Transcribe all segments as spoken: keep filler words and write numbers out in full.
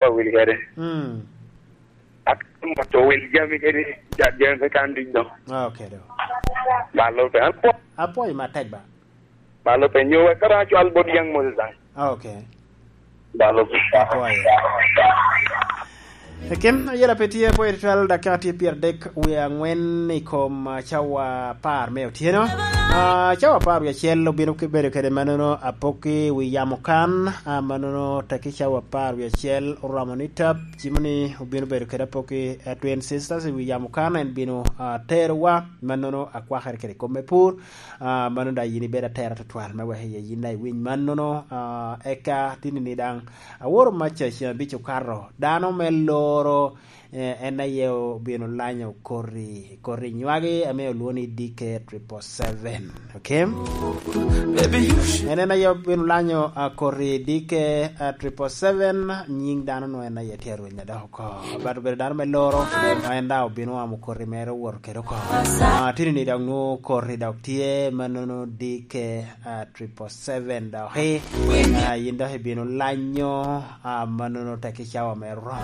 Owil kede. Mm. Ak-, moto owil jami kede, ja-, jami pe kan duc do. Ah, ok, do. Balo pe, an po- Apwoyo matek ba. Balo pe, nyo wek kara acwal bot Young Moses daŋ. Ah, ok. Balo pe. Apwoyo. Ekin, ayela pe tye, apwoyo twal, dakika tye pyeradek wie angwen i kom, ah, cawa apar me otyeno. Ah, cawa apar wie acel obino ki bedo kede mannono apokki wi yamo kan, ah, mannono tekki cawa apar wie acel oromo ni tap, cimo ni obino bedo kede apokki, eh, Twin Sisters i wi yamo kan, en bino, ah, terowa, mannono akwakere kede kom me pur, ah, mano daŋ yin ibedo atera tutwal me wek iye yin daŋ iwiny mannono, ah, eka tinini daŋ aworo maca ceng abic okato, dano me loro, eh, en aye obino lanyo koti, koti nywagi ame olwoŋo ni D K triple seven, ok? En, en aye obino lanyo, ah, koti D K, ah, triple seven, nying dano no en aye tye arweny adok oko. But obedo dano me loro, ma en daŋ obino oamo koti mere owoto kede oko. Ah, tini ni dok nwoŋo koti dok tye, mannono D K, ah, triple seven dok i, ah, yin dok ibino lanyo, ah, mannono tekki cawa me oromo.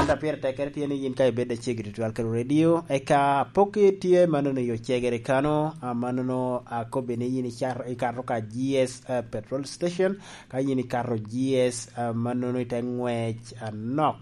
Ento pire tekkere tye ni yin ka ibed aceggi tutwal kede radio, eka apokki tye mannono i ocegere kano, ah, mannono akobbi ni yin icar-, ikato ka G S, ah, petrol station, ka yin ikato G S, ah, mannono ite ngwec anok,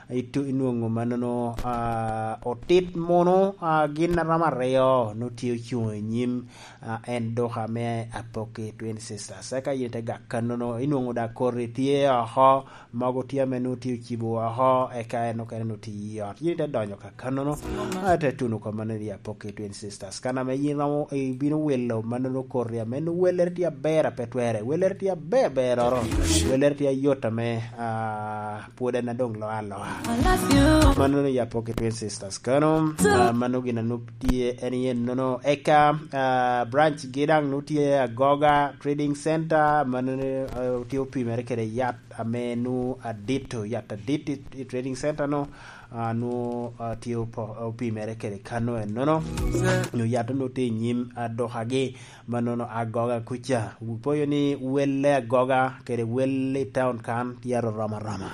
itu-, inwoŋo mannono, ah, otit munu, ah, gin a romo aryo nwoŋo tye ocuŋ i nyim, ah, en duka me apokki Twin Sisters. Eka yin ite gak kannono, inwoŋo daŋ koti tye oko, mogo tye ame nwoŋo tye ocibo oko, eka en okene nwoŋo tye i ot. Yin ite donyo ka kannono, ah, ite tuno kop mannono i apokki Twin Sisters. Kan ame yin romo, ibino wilo mannono koti ame nwoŋo wellere tye aber a pe twere, wellere tye aber beroro, wellere tye ayot ame, ah, pwod en adoŋ lo aloa. Mannono i apokki Twin Sisters kano, ah, mano gin a nwoŋo tye en yen nono. Eka, ah, branch gi daŋ nwoŋo tye Agoga Trading Center, mano, ah, tye opimere kede yat ame nwoŋo adito, yat adit i, i Trading Center no, ah, nwoŋo, ah, tye opo-, opimere kede kano ennono. Nyo yat onwoŋo tye i nyim, ah, dukagi, mannono Agoga kuca. Wupoyo ni welle Agoga kede wel i town kan tye aroromo aroma.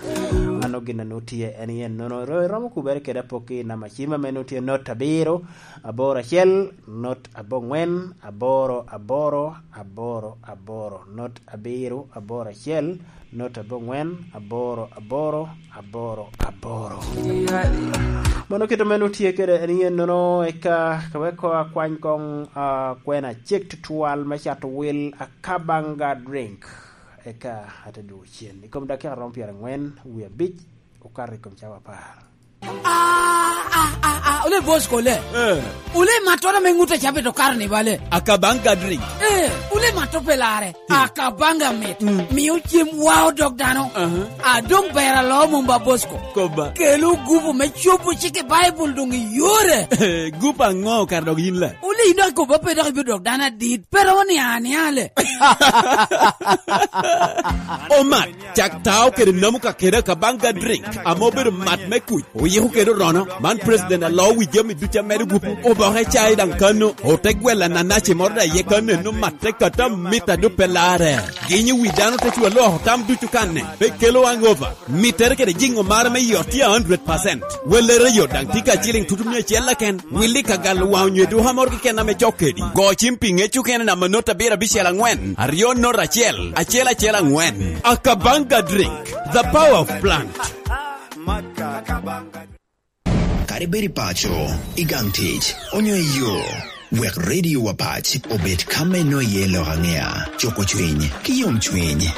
Mano gin a nwoŋo tye en i ennono. Ro-, iromo kubere kede apokki i namba cim ame nwoŋo tye not abiro, aboro acel, not aboŋwen, aboro, aboro, aboro, aboro, not abiro, aboro acel, not aboŋwen, aboro, aboro, aboro, aboro. Mano kit ame nwoŋo tye kede en i ennono, eka ka wek koŋ akwany koŋ, ah, kwena acek tutwal me cato wil Akabanga Drink. Eka ate dwogo cen. I kom dakika romo pyerangwen wie abic, okato i kom cawa apar. Ah, ah, ah, ah, ole boss kole. Eh. Ole matto ame ŋut a cabe to karo ni bale. Akabanga Drink. Eh, ole matto pe lare. Hmm. Akabanga mit. Hmm. Mio cem wao dog dano. Aha. A doŋ ber alo mom ba boss ko. Koba. Kelo gupu me cobo cik i Baibul doŋ i yore. Gupu aŋo kara dog yin la? Ole yin dok koba pe dok ibino dok dano adit. Pe romo ni ania le. Omat. Cak tao kede namu ka kede Akabanga Drink, ame obedo mat me kuc, oyiko kede orono. Man president alo wi jami ducu amedo gupu. Oboke cai daŋ kano, ote gwel ananaci moro daŋ iye kano, eno matte kata mita dupe lare. Ginyo wi dano te cwa loko tam ducu kanne, pe kelo hangover. Mittere kede jiŋo mare me yot tye a hundred percent. Wellere yot daŋ tye ka ciliŋ tutu mia acel keken. Willi ka galo waŋ onyo i duka moro keken ame cok kedi. Go cim pi ŋec okene namba not abiro abicel angwen, aryo not acel, acel acel angwen. Akabanga Drink, the power of plant. Kadi bed i paco, i gang tic, onyo i yo, wek Radio Wapac obed ka me nwoŋo iye lok aŋea, cuko cwiny ki yomcwiny.